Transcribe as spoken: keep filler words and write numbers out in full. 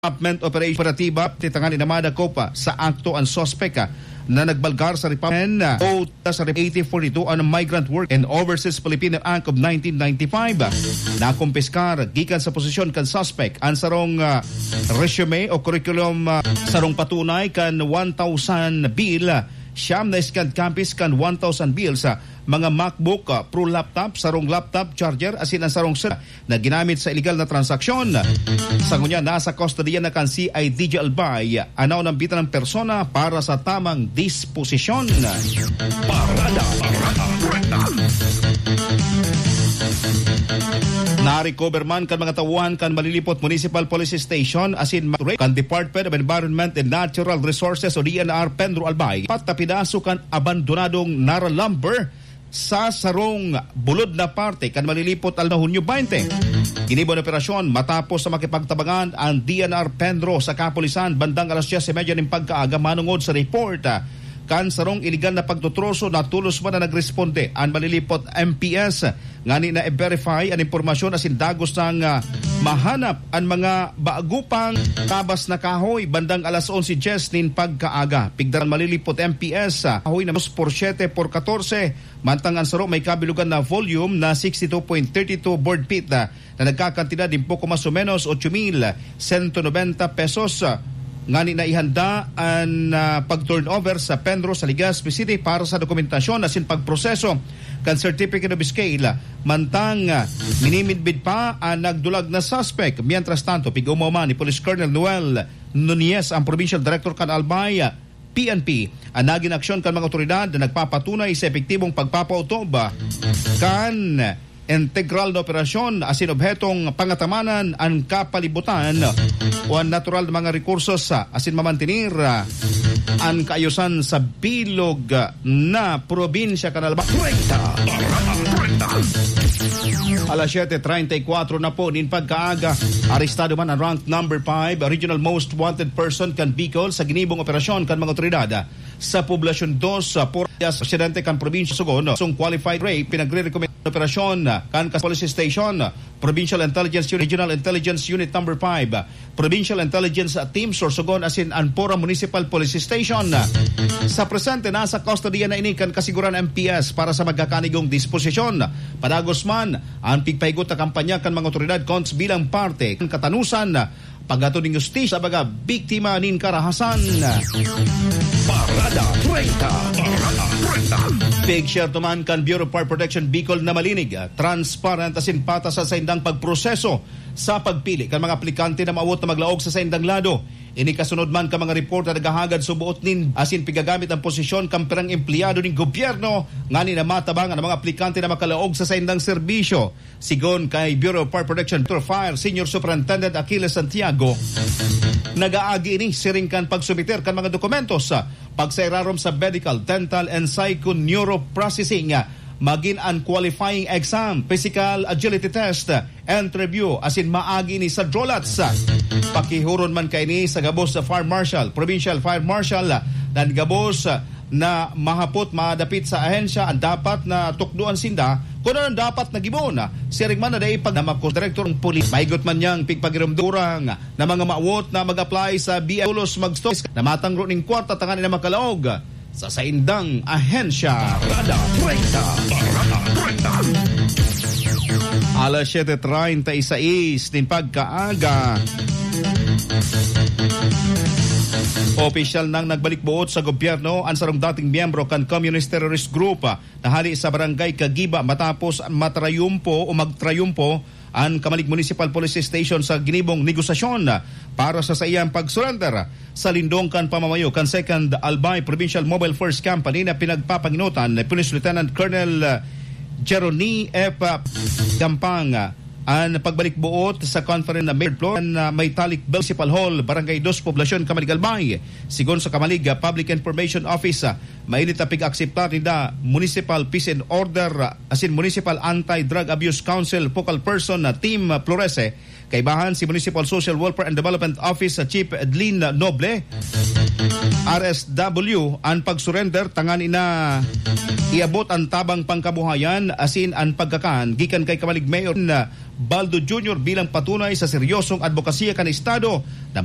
Development Operation Operatiba, titangan inamada ko pa sa akto ang suspek, ah, na nagbalgar sa Republic, ah, o sa eighty forty-two on Migrant Work and Overseas Filipino Act of nineteen ninety-five. Nakumpiskar gikan sa posisyon kan suspek ang sarong, ah, resume o curriculum, ah, sarong patunay kan one thousand bill, siyam na scanned copies kan one thousand bills, ah, mga MacBook, ah, Pro laptop, sarong laptop charger, asin ang sarong cell na ginamit sa iligal na transaksyon. Sa ngunyan, nasa kustodiya na kan C I D G Albay ang naunambitan ng persona para sa tamang disposisyon. Parada, parada, parada. Na-recover man kan mga tauhan kan Malilipot Municipal Police Station asin ma-, kan Department of Environment and Natural Resources o D N R Pedro Albay, apat na pidaso kan abandonadong Nara lumber sa sarong bulod na parte kan Malilipot aldaw na Hunyo twenty. Ginibo an operasyon matapos sa makipagtabangan ang D N R Pedro sa kapulisan bandang alas dyes y media nin pagkaaga manongod sa report, ah, kan sarong iligal na pagtutroso. Natolos man na nagresponde ang Malilipot M P S ngani na i-verify an impormasyon asin dagos nang, ah, mahanap an mga bago pang tabas na kahoy bandang alas onse dyes nin pagkaaga. Pigdaran Malilipot M P S, ah, kahoy na dos por siete por katorse, mantang an saro may kabilugan na volume na sixty two point thirty two board feet, ah, na nagkakantidad nin poko mas o menos ocho mil sento nobenta pesos, ah, ngani na ihanda an, ah, pag-turnover sa Pedro sa Legazpi City para sa dokumentasyon asin pagproseso kan Certificate of Scale, ah, mantang, ah, minimidbid pa an nagdulag na suspek. Mientras tanto, pig-omaw man ni Police Colonel Noel Nunez, ang Provincial Director kan Albay, ah, P N P, ang nagin aksyon kan mga otoridad na nagpapatunay sa epektibong pagpapautob kan integral na operasyon asin obhetong pangatamanan an kapalibutan o an natural na mga rekursos asin mamantenir an kaayusan sa bilog na probinsya kan Albay. Treinta, Barata, treinta. Alas siyete treinta y cuatro na po nin pagkaaga, arestado man ang rank number five, regional most wanted person kan Bicol sa ginibong operasyon kan mga otoridad sa Poblacion dos, sa Por-, sa presidente kan probinsya Sugon. Song qualified rape, pinagre-recommend operasyon kan Kas Police Station, Provincial Intelligence Unit, Regional Intelligence Unit number five, Provincial Intelligence Team Sorsogon asin Anpora Municipal Police Station. Sa presente, nasa kustodiya na ini kan Kasiguran M P S para sa magkakanigong disposisyon. Padagos man, ang pigpahigot na kampanya kan mga otoridad kontra bilang parte kan katanusan, paghatod nin hustisya sa mga biktima nin karahasan. Parada treinta, Parada treinta. Pigsyerto man kan Bureau of Fire Protection Bicol na malinig, transparent asin patas sa saindang pagproseso sa pagpili kan mga aplikante na maawot na maglaog sa saindang lado. Ini kasunod man kan mga report na naghahagad suboot nin asin pigagamit ang posisyon kan pirang empleyado nin gobyerno ngani na matabang an mga aplikante na makalaog sa saindang serbisyo. Sigon kay Bureau of Fire Protection Director Fire Senior Superintendent Achilles Santiago, nag-aagi ini siring kan pagsumiter kan mga dokumentos, pagsairarom sa medical, dental, and psychoneuroprocessing, magin an qualifying exam, physical agility test, interview, asin maagi ni sa DROLATS. Pakihuron man kaini sa gabos sa Fire Marshal, Provincial Fire Marshal, nan gabos na mahapot madapit sa ahensya ang dapat na tukdoan sinda kun ano ang dapat na gibohon. Siring man na dai pag namakos direktor ng pulis. Maigot man niyang pigpagirumdurang na mga maawot na mag-apply sa B I tulos magstop na matangro ning kwarta tanganing na makalaog sa saindang ahensya. Parada treinta. Parada treinta. Alas siyete treinta y seis nin pagkaaga. Opisyal nang nagbalik buot sa gobyerno ang sarong dating miyembro kan Communist Terrorist Group na hali sa Barangay Kagiba matapos matrayumpo o magtrayumpo an Camalig Municipal Police Station sa ginibong negosasyon para sa saiyang pag-surrender. Sa lindong kan pamamayo kan Second Albay Provincial Mobile Force Company na pinagpapanginotan ni Police Lieutenant Colonel Jeroni F Gampang, an pagbalik buot sa conference na Mayor Flor na may Talik Municipal Hall, Barangay Dos, Poblacion, Camalig, Albay. Sigon sa Camalig Public Information Office, mainit na pig-akseptar ninda Municipal Peace and Order asin Municipal Anti-Drug Abuse Council Focal Person na Team Florece, kaibahan si Municipal Social Welfare and Development Office Chief Edlin Noble, R S W, an pag-surrender tanganing na iabot an tabang pangkabuhayan asin an pagkakan gikan kay Camalig Mayor Baldo Junior bilang patunay sa seryosong adbokasya kan Estado na